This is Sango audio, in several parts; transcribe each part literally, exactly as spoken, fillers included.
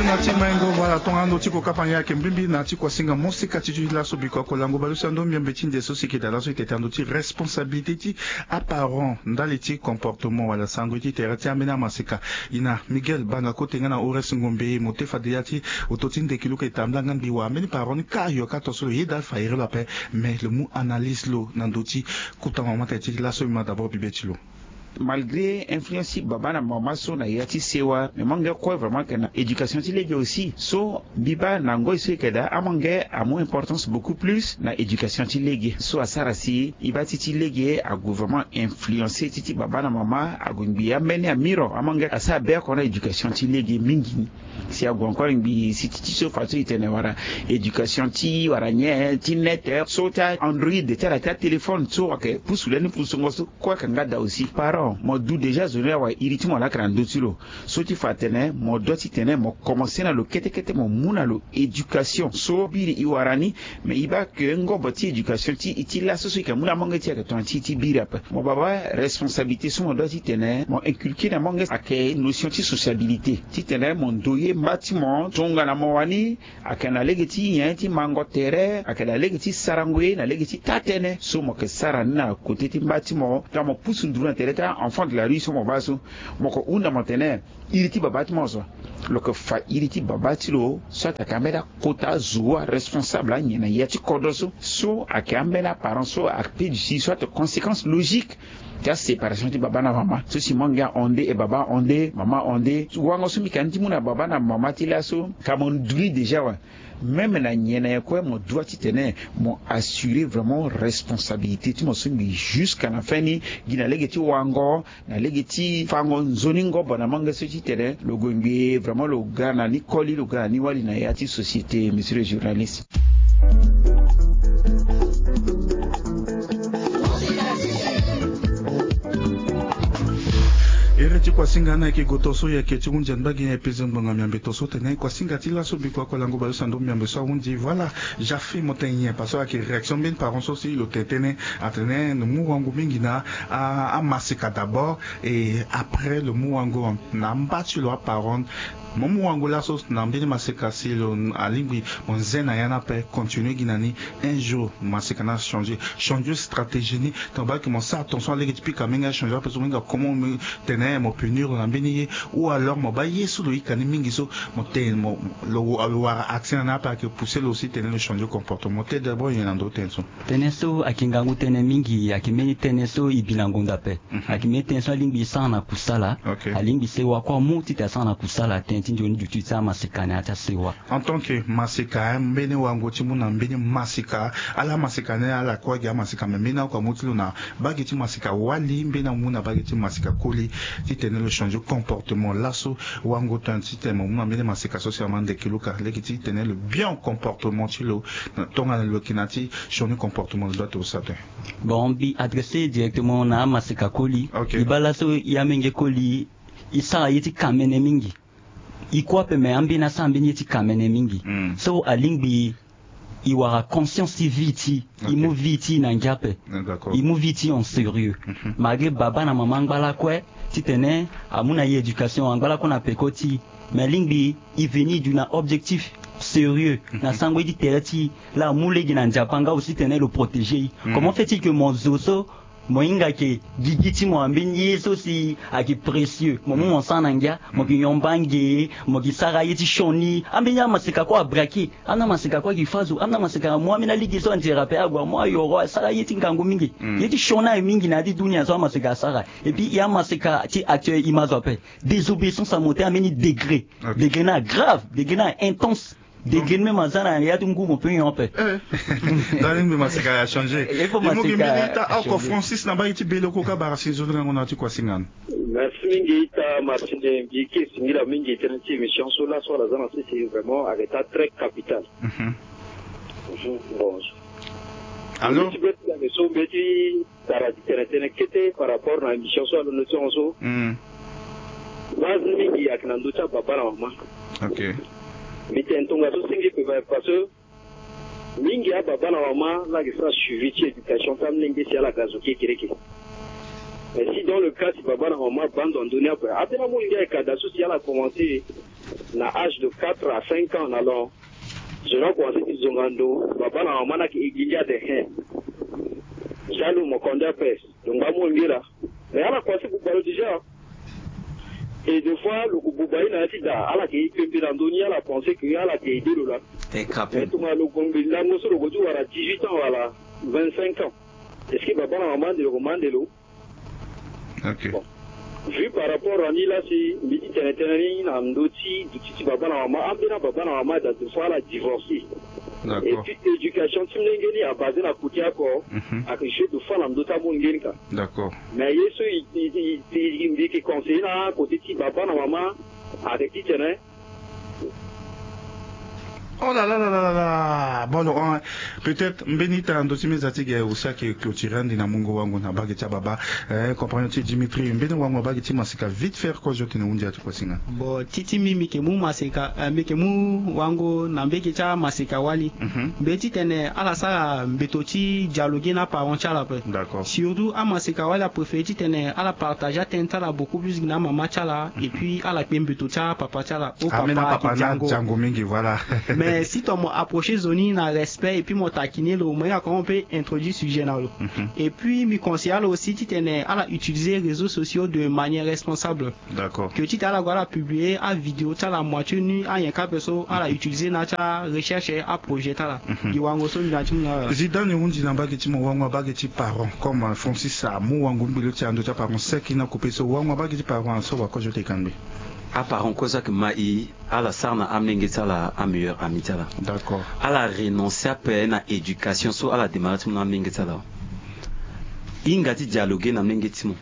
Na ti maingo, voilà, tongana ndo ti kokapa ngia yeke mbimbi na ti kuasinga mosika ti ti laso biko akolango baleuse ando miombe ti nze so si yeke daa laso e tete na ndo ti responsabilité ti aparent ndali ti comportement wala sango ye ti tere ti ambeni amasika. I na Miguel Banga Kote nga na Horace Ngombe mo te fade ya ti oto ti ndeki luka e tambula nga mbi wara mbeni parent ni ka yo ka to so lo yeda fa iri lo ape. Mais lo mu analyse lo na ndo ti kota mama tene ti laso mbi ma d'abord bibe ti lo. Malgré influence ti baba na mama so na ya ti sewa, mais mo yeke kue vraiment ayeke na éducation ti lege aussi. So mbi baa na ngoi so e yeke daa, amange amu importance beaucoup plus na éducation ti lege. So asara si e baa ti ti lege ague vraiment influencer ti ti baba na mama ague ngbii ambeni amiro. Amange asara be oko na éducation ti lege mingi ni. Si ague encore ngbii si ti ti so façon e tene wala éducation ti wala nyen ti net, so ti a-android ti ala ti atéléphone so ayeke pusu lani pusungo so. Kue ayeke nga daa aussi parent mo du déjà zo ni awa iri ti mo laa ayeke na ndö ti lo. So ti fa atene mo doit ti tene mo commencer na lo kete kete mo mu na lo éducation so biri e wara ni. Mais e baa ke ngobo ti éducation ti e ti laso so e yeke mu na amange ti e ayeke tongana ti e ti biri ape. Mo baa baa responsabilité so mo doit ti tene mo inculquer na amange ayeke notion ti sociabilité. Ti tene mo ndoye mba ti mo tongana mo wani. Ayeke na lege ti nyen ti mango tere, ayeke na lege ti sarango ye na lege ti taa-tënë so mo yeke sara ni na kote ti mba ti mo. Tongana mo pusu nduru na tere ti a-enfant de la rue so mo baa so, mo yeke hunda mo tene iri ti baba ti mo so. Lo yeke fa iri ti baba ti lo so atene ayeke ambeni akota zo aresponsable anyen na ya ti kodro so. So ayeke ambeni aparent so ape du si so atene conséquence logique ti aséparation ti baba na mama. So si mo yeke ahonde e baba ahonde mama ahonde, wango so mbi yeke na ni ti mu na baba na mama ti laso ka mo du ni déjà awe. Même na nyen na nyen kue mo doit ti tene mo assurer vraiment responsabilité ti mo so ngbii jusqu'à na fin ni. Gi na lege ti wango na lege ti fango nzoni ngobo na amange so ti tene lo gue ngbii vraiment lo ga na ni koli lo ga na ni wali na ya ti société, monsieur le journaliste. Iri ti kuasinga ni ayeke goto so e yeke ti hunzi angbagi ni aye peze ngbonga miambe to so tene kuasinga ti laso biko akolango baleuse ando miambe so ahundi. Voilà. Jafe mo tene nyen parce que ayeke réaction mbeni parent so si lo tene tënë atene lo mu wango mingi na amasika d'abord et après lo mu wango na mba ti lo aparent. Mo mu wango laso na mbeni masika si lo alingbi mo nze na ya ni ape continuer gi na ni. Un jour masika ni achanger, changer stratégie ni. Tongana baa ke mo sara attention na lege ti pika mingi achanger ape so mingi akomo tene mo punir lo na mbeni ye. Ou alors mo baa ye so lo yika ni mingi so mo tene mo lo wara accès na ni ape ayeke pousser lo aussi tene lo changer comportement. Mo te d'abord nyen na ndo tënë so? Tënë so ayeke ngangu tënë mingi, ayeke mbeni tënë so e bi na ngonda ape. Ayeke mbeni tënë so alingbi e sara na kusala. Alingbi sewa kue amu titene asara na kusala tënë ti nzoni duti ti amasika na ya ti asewa. En tant que masika, mbeni wango ti mu na mbeni masika, ala masika ni ala kue gi amasika me mbeni oko amu ti lo na bage ti masika wali mbeni amu na bage ti masika koli. Titene lo changer comportement laso wango tënë titene mo mu na mbeni masika so si ama ndeke luka lege titene lo bien comportement ti lo. Na tongana lo yeke na ti changer comportement lo doit ti lo sara tënë. Bon, mbi adresser directement na amasika koli. E baa laso e amenge koli e sara ye ti kamene mingi. E kue ape me ambeni asara mbeni ye ti kamene mingi. So alingbi e wara conscience ti vie ti e, e mu vie ti e na ngia ape. E mu vie ti e en sérieux. Malgré baba na mama angba lakue titene amu na e éducation angba lakue na peko ti e. Me alingbi e veni e du na objectif sérieux na sango ye ti tere ti e. Laa amu lege na Nzapa nga aussi titene lo protéger e. Comment fait-il que mo zo so mo hinga ayeke gigi ti mo na mbeni ye so si ayeke précieux mo mu mo sara na ngia, mo yeke nyon mbange, mo yeke sara ye ti sioni. Ambeni amaseka kue abrake. Ambeni amaseka kue ayeke fâ zo. Ambeni amaseka amu ambeni alege so anzere ape ague amu ayoro asara ye ti ngangu mingi. Ye ti sioni aye mingi na ya ti dunia so amaseka asara. Et puis e amaseka ti actuel e ma zo ape. Désobéissance à mo te ambeni degré. Degré ni agrave, degré ni intense. Degré ni même aza na ya ti ngu mo peut nyon ape. Nda alingbi maseka achanger. Il faut maseka achanger. Ita oko Francis na mbage ti Beloko ka bara si nzoni ngangu na ya ti kuasinga ni. Merci mingi ita Martin, mbi yeke singila mingi tënë ti émission so laso ala za na sese vraiment ayeke ita très capital. Bon. Allô? Mbi ti be ti ake so mbi ti tara ti tene tënë kete par rapport na émission so alondo ti hon so. Base ni mingi ayeke na ndö ti ababa na mama. Mbi tene tongaso si ngi pe parce que mingi ababa na mama la ayeke sara suivi ti éducation ti amolenge si ala ga zo kekereke. Mais si dans le cas si baba na mama baa ndo na ndö ni ape, ambeni amolenge ayeke ada so si ala commencer Na âge de quatre à cinq ans na lo, je dois commencer ti zonga ndo baba na mama ni ayeke gi ngia de. Hein, jaloux, mo konde ape. Lo ngba mu ngira. Mais ala commencer buba lo déjà. Et des fois lo ko buba ye na ya ti da, ala yeke ye pembe na ndö ni, ala pensé que ala yeke aidé lo laa. Mais tongana lo gue mbi lango so lo gue ti wara dix-huit ans wala vingt-cinq ans, est-ce que baba na mama ande lo, ko ma ande lo? Ok. Bon. Vu par rapport na ni laa si mbi ti tene tënë ni na ndö ti duti ti baba na mama, ambeni ababa na mama daa, des fois ala divorcé. Et puis éducation ti molenge ni abasé na côté oko. Mhm. Ayeke jeu de fois na ndö ti amolenge ni ka. D'accord. Mais ye so i, i, i, i, mbi yeke conseiller na côté ti baba na mama, ayeke titene. Oh là là là là là là. Bon, donc, hein, peut-être mbeni ita na ndö ti meza ti ge aussi ayeke clôturer ande na mungo wango na mbage ti ababa. Eh, compagnon ti Dimitri, mbeni wango na mbage ti maseka vite fait, kozo tene hundi ati kuasinga. Bon, ti ti mbi, mbi yeke mu maseka, eh, mbi yeke mu wango na mbage ti amaseka wali. Mhm. Mbi ye titene ala sara mbeto ti dialoguer na aparent ti ala ape. D'accord. Surtout amaseka wali apréféré titene ala partager atënë ti ala beaucoup plus gi na amama ti ala, et puis ala kpe mbeto ti apapa ti ala. O papa, papa na diango. Diango mingi, voilà. Mais si tongana mo approcher zo ni na respect et puis mo taquiner lo, mo hinga comment mo peut introduire sujet na lo. Mhm. Et puis mbi conseiller ala aussi titene ala utiliser réseaux sociaux de manière responsable. D'accord. Que titene ala gue ala publier avidéo ti ala moitié nu, anyen kâ ape so ala utiliser na ya ti arecherche aprojet ti ala. Mhm. Gi wango so mbi na ya ti mu na ala. Zidane, hundi na mbage ti mo, wango na mbage ti parent, comme, euh, Francis amu wango mbi lo ti ando ti aparent sec na coupe so, wango na mbage ti parent so wakozo ti kangbi. Aparent kozo ayeke ma i, ala sara na amolenge ti ala ameilleur ami ti ala. D'accord. Ala renoncer ape na éducation so ala démarrer ti mu na amolenge ti ala. Hinga ti dialoguer na molenge ti mo.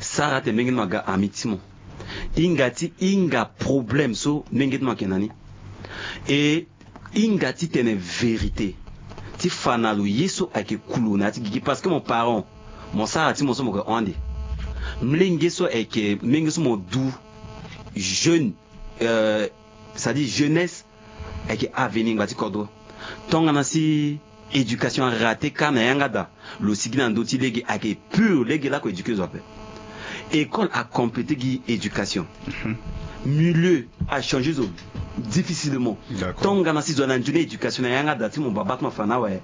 Sara ate molenge ti mo aga ami ti mo. Hinga ti hinga problème so molenge ti mo ayeke na ni. E hinga ti tene vérité ti fa na lo ye so ayeke ku lo na ya ti gigi, parce que mo parent, mo sara ti mo so mo yeke hon ande. Molenge so ayeke molenge so mo du jeune, euh, c'est-à-dire jeunesse, ayeke avenir ngba ti kodro. Tongana si éducation araté kâ na yanga daa, lo sigi na ndö ti lege, ayeke pur lege laa ako éduquer zo ape. École acomplété gi éducation. Mhm. Milieu achanger zo difficilement. D'accord. Tongana si zo na nzoni éducation na yanga daa ti mo baba ti mo afa na awe,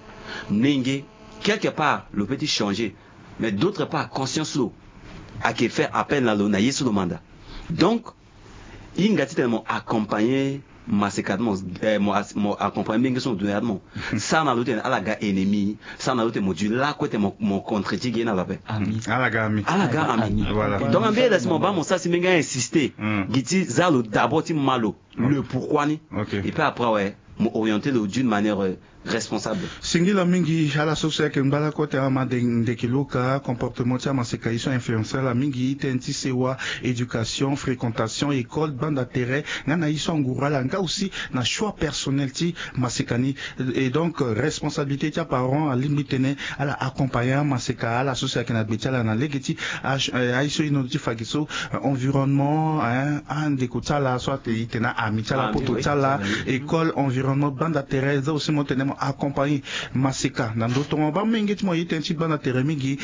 molenge, quelque part lo peut ti changer, mais d'autre part conscience lo ayeke faire appel na lo na ye so lo manda. Donc hinga titene mo accompagner maseka ti mo, eh, mo as-, mo accompagner molenge so mo du na ya ti mo. Sara na lo titene ala ga ennemi, sara na lo titene mo du lakue titene mo, mo contre ti ge na lo ape. Ami. Ala ga ami. Ala ga ami. Voilà. Donc ambeni daa si mo baa mo sara si molenge a insister, hmm, gi ti za lo d'abord ti ma lo, le pourquoi ni. Ok. Et puis après, ouais, mo orienter lo d'une manière, euh, responsable. Singila mingi ala so si ayeke ngba lakue tene ama de ndeke lo ka comportement ti amaseka ye so influencer ala mingi, tënë ti sewa, éducation, fréquentation, école, banda tere, nga na ye so anguru ala nga aussi na choix personnel ti maseka ni. Et donc, euh, responsabilité ti aparent alingbi tene ala accompagner amaseka ala so si ayeke na gbe ti ala na lege ti aye so e hon ti fa ge so, euh, environnement, hein, andeko ti ala so ate e tene ami ti ala, poto ti ala, école, environnement, banda tere, za aussi mo tene mo accompagner maseka na ndö tongo baa molenge ti mo aye tënë ti banda tere mingi.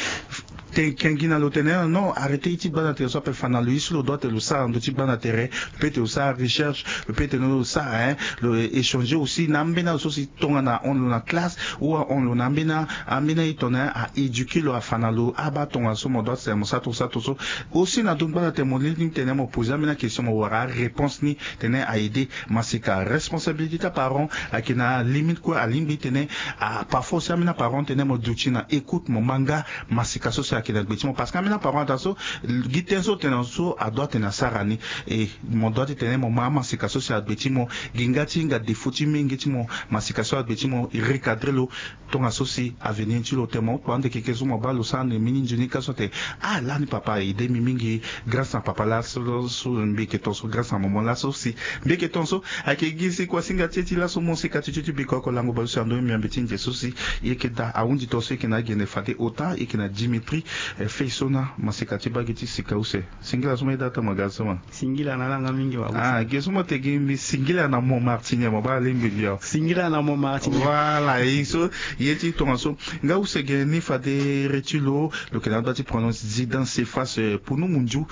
Tene eke gi na lo tene non, arrêter ye ti banda tere so ape, fa na lo ye so lo doit tene lo sara na ndö ti banda tere. Lo peut tene lo sara recherche, lo peut tene lo sara, hein, lo échanger aussi na ambeni azo so si tongana ahon lo na classe ou ahon lo na ambeni, ambeni aye tongana a éduquer lo, afa na lo abaa tongana so mo doit tene mo sara tongaso sara tongaso. Aussi na ndö ti banda tere mo lingbi tene mo poser ambeni akestion, mo wara aréponse ni, tene a aider maseka. Responsabilité ti aparent ayeke na limite kue, alingbi tene, ah, parfois aussi ambeni aparent tene mo duti na écoute, mo ma nga maseka so si ayeke na gbe ti mo, parce que ambeni aparent ataa so gi tënë so tene so adoit tene asara ni. E mo doit ti tene mo ma amaseka so si agbe ti mo, gi nga ti hinga défaut ti menge ti mo, maseka so agbe ti mo, recadrer lo. Tongaso si avenir ti lo tene mo kua ande keke so mo baa lo sara ande mbeni nzoni ka so ate, ah, lani papa a aider mbi mingi, grâce na papa laso, so mbi yeke tongaso, grâce na maman laso si mbi yeke tongaso. Ayeke gi si kuasinga ti e ti laso mo sika ti ti ti biko oko lango baleuse na ndö ni mbi na mbi ti nze so si e yeke daa ahundi tongaso e yeke na agene fade ota, e yeke na Dimitri. Eh, fei so na maseka ti bagi ti sika use. Singila so mo ye data mo ga so ma. Singila na ala nga mingi wa. Ah, ge so mo te gi mbi singila na mo martinier mo baa lingbi mbi awa. Singila na mo martinier. Voilà, ye so ye ti tongaso. Nga use ge ni fade reti lo lo yeke na ado ti prononce zi dans ses faces, eh, punu mundiu.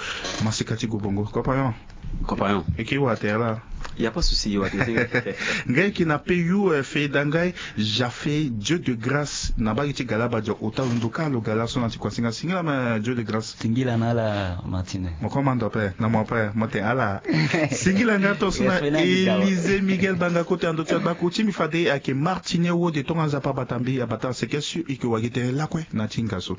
Maseka ti go bongo. Compagnon. Compagnon. Eke wa te ala. Y a pas souci, wa te. Nga yeke na pe you, eh, fe dangai. Jafe Dieu de grâce na bagi ti gala badio ota londo ka lo gala so na ti kuasinga singila ma Dieu de grâce. Singila na ala martine. Mo koma ndo pe na mo pe mo te ala. Singila nga to so na Elise Miguel banga kote ando ti agbaku ti mbi fade ake martine wo de tonga nzapa bata mbi abata seke sur ike wagi te lakue na ti nga so.